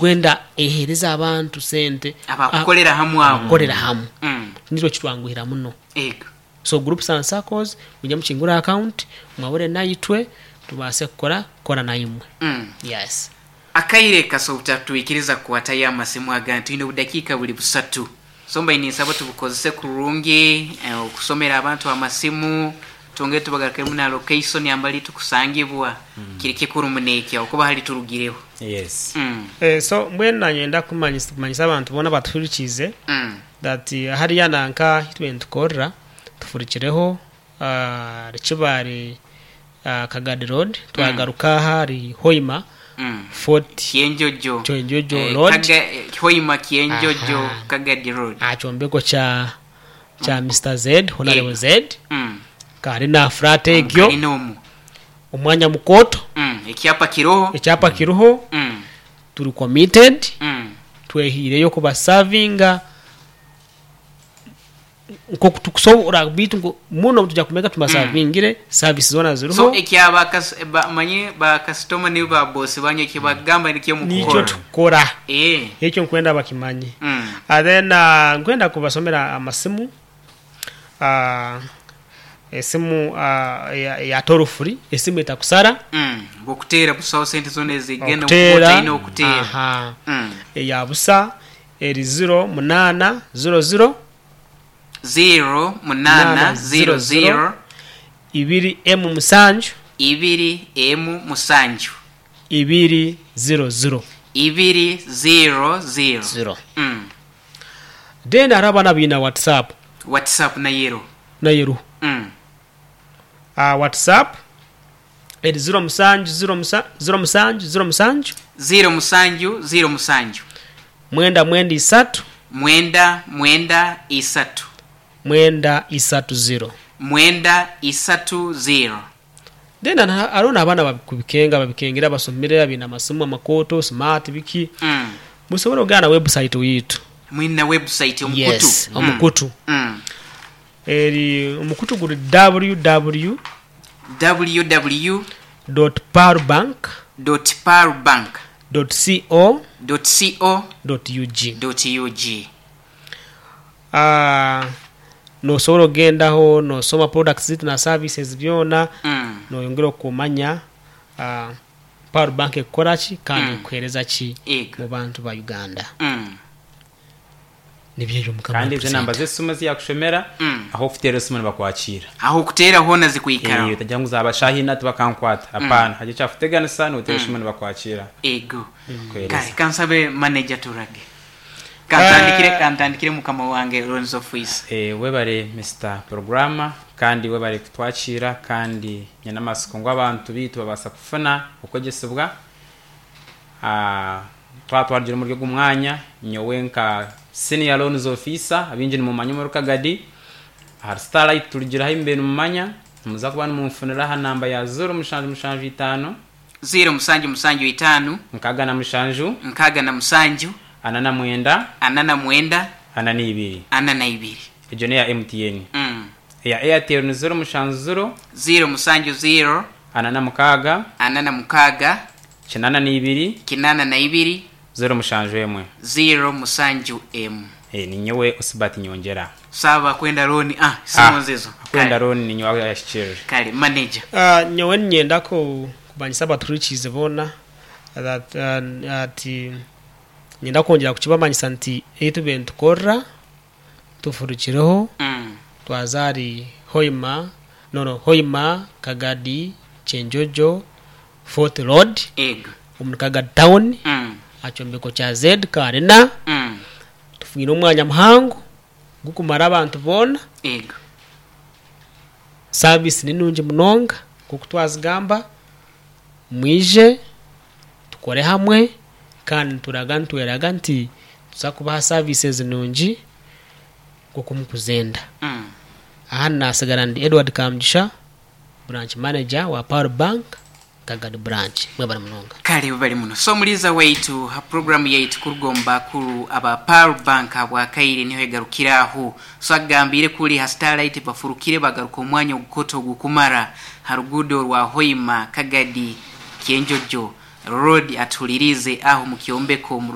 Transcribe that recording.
Kwenda ehereze abantu sente Abakukorera hamwe abo. abakukorera hamwe Mm. nikyo kitwanguhira muno. Ego. So groups and circles mwije mukingure account mwabure naitwe tubaase kukora kukora naimwe. Mm. Yes. Akaire kasobora kutatwikiriza kukwatayo amasimu agandi twine obudakiika buri busatu so mbaire ninsaba tubukozese kurungi okusomera abantu amasimu twongere tubagarukiremu na location ambali tukusangibwa kiri kikuru muno ekyo ahabw'okuba hali turugireho. Yes. Mm. So mbwenu nanye nda kumanyisa abantu boona abatuhurikiize Mm. that hariya nanka ahu tubire nitukorera tufurikireho ahari Kibaare Kagadi road twagaruka aha ahari Hoima Mm. Fort Kyenjojo. Kyenjojo Eh, road. Kaga, eh, Hoima Kyenjojo Aha. Kagadi road. Aha kyombeko kya kya Mister Z, Honourable Z. Mm. Kari na flat egyo. Omu kalina omu. Omwanya mukooto. Mm. Ekyapa kiroho. Ekyapa kiroho. Mm. Turi committed. Mm. Twehiireyo kubasavinga nkoku tukusobora beitu ngu muno nituja kumeka tubasavingire service zoona So ziriho. ekya ba kas, ba, manye ba kasitoma ni ba boss banyu ekibagamba nikyo Nikyo mukukora. tukukora. Eh. Ekyo nkwenda bakimanye. Mm. And then nkwenda kubasomera amasimu. Esimu eya toll free, esimu etakusara. Ngu okuteera busaho sente zoona ezigenda Okuteera, okuba otaine okuteera. aha. Eya busa eri ziro munaana ziro ziro. Ziro munaana ziro ziro. Ibiri emu musanju. Ibiri emu musanju. Ibiri ziro ziro. Ibiri ziro ziro. Ziro. Then hariho abaana abaine WhatsApp. WhatsApp nayo eriho. Nayo eriho. WhatsApp eri ziro musanju ziro musa ziro musanju ziro musanju. Ziro musanju ziro musanju. Mwenda mwenda isatu. Mwenda mwenda isatu. Mwenda isatu ziro. Mwenda isatu ziro. Then hariho n'abaana ababikubikenga ababikengire abasomire abaine amasimu amakooto, smart biki. Musobora okugenda na website yitu. Mwine na website omukutu? Yes, omukutu. Eri omukutu guri www. Www. Dot pearlbank. Dot pearlbank. Dot co. Dot co. Dot ug. Dot ug. Nosobora okugendaho nosoma products zaitu na services byona noyongera okumanya Pearl Bank ekukora ki kandi ekuhereza ki mubantu ba Uganda. Nibyo ebyo Mukama Kandi ezo enamba President. z'esimu ezi yaakushomera, ah'okuteera esimu nibakwakiira. Ah'okuteera hoona zikwikaraho. Eeh, otagira ngu zaaba shaaha ina tibakankwata. Apaana, hagira ekyakuteganisa nooteera esimu nibakwakiira. Ego. Kukuheereza. Kare kansabe manager turage. Kantandikire kantandikire mukama wange Loans Officer. Eeh, webare Mister Programmer kandi webare kutwakiira kandi nyine amatsiko ngu abantu baitu babaasa kufuna okwegyesibwa. Twaba twarugire omuri ogu mwanya, nyowe nka Senior Loans Officer, abaingi nimumanya omuri Kagadi, ahari Starlight turugireho ahi mubaire nimumanya, nimuza kuba nimunfunira aha namba ya ziro mushanju mushanju itaano, Ziro musanju musanju itaano. 67. 67. 49. 49. 42. 42. Egyo n'eya MTN. Eya Airtel ni ziro mushanju ziro. Ziro mushanju ziro. 46. 46. 82. 82. 071. 071. Ninyowe Osbert Nyongyera. Saaba akwenda looni ah simu nzizo. Akwenda looni ninyowe ayahikirire. Kare manager. Nyowe niinyenda kumanyisa abatuhurikiize boona that ati niinyenda kwongyera kukibamanyisa nti ei tubaire nitukorera Tufurukireho twaza ahari Hoima, no no Hoima, Kagadi, Kyenjojo, Fort Road, omuri Kagadi Town, aha kyombeko kya Z Karina. Tufwine omwanya muhango gurikumara abantu boona. Saavisi ni nungi munonga nk'oku twazigamba. Mwije tukore hamwe kandi nituraga nitweraga nti nituza kubaha services nungi nk'oku mukuzenda. Aha nasigara ndi Edward Kamugisha, Branch Manager wa Pearl Bank Kagadi Branch. Mwebare munonga. Kale webale muno. So omuliiza waitu ha puroguramu yaitu kuruga omu bakuru aba Pearl Bank habwakaire niho egarukire aho. So agambiire kuri ha Starlight bafurukire bagaruka omwanya ogukoto ogukumara ha ruguudo orwa Hoima Kagadi Kyenjojo. Road atuhuliriize aho mu kyombeko.